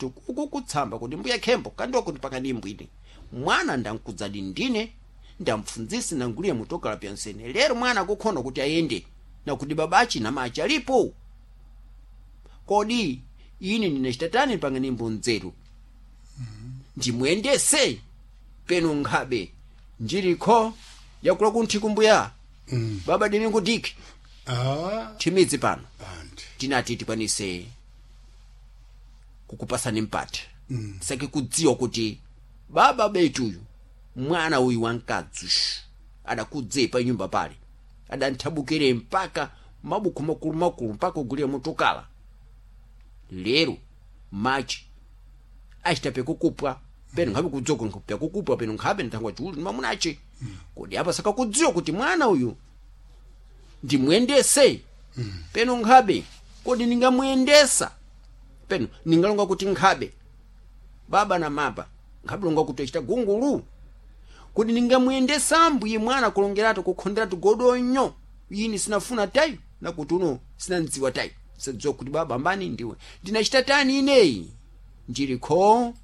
Kukutsamba kuti mbuya khembo kandiwa kuti pakadimbwine mwana ndankudzadi ndine ndamfundzisi nanguliye mutokala pyansene. Lero mwana akukhona kuti ayende nakuti babachi namachi alipo. Kodi ine ndinachitatani panganimbo nzeru ndimuyendese peno nkhabe njilikho yakula kunthiku mbuya? Baba Dimingu Diki. Ah. Thimidzi pano. Anti. Tinati tikwanise kukupasani mpata tisake kudziwa kuti baba betuyu mwana uyu wamkadzi adakudze pa nyumba pale adanthabukire mpaka mabuku makulumakulu mpaka ugulire motokala. Lero machi achitape kukupwa peno nkhabe kudzoka nkupya kukupwa peno nkhabe nthangwa chiulu mamunache. Kodi apa sakakudziwa kuti mwana uyu ndimuyendese peno nkhabe? Kodi ningamuyendesa peno ningalonga kuti nkhabe baba na mapa nkhabe longa kuti achita gungulu? Kodi ningamuyendesa mbuye mwana kulongeratu kukhonderatu godonyo ine sinafuna tayi nakuti uno sinandziwa tayi sadziwa kuti baba ambani ndiwe ndinachita tani ineyi njilikho.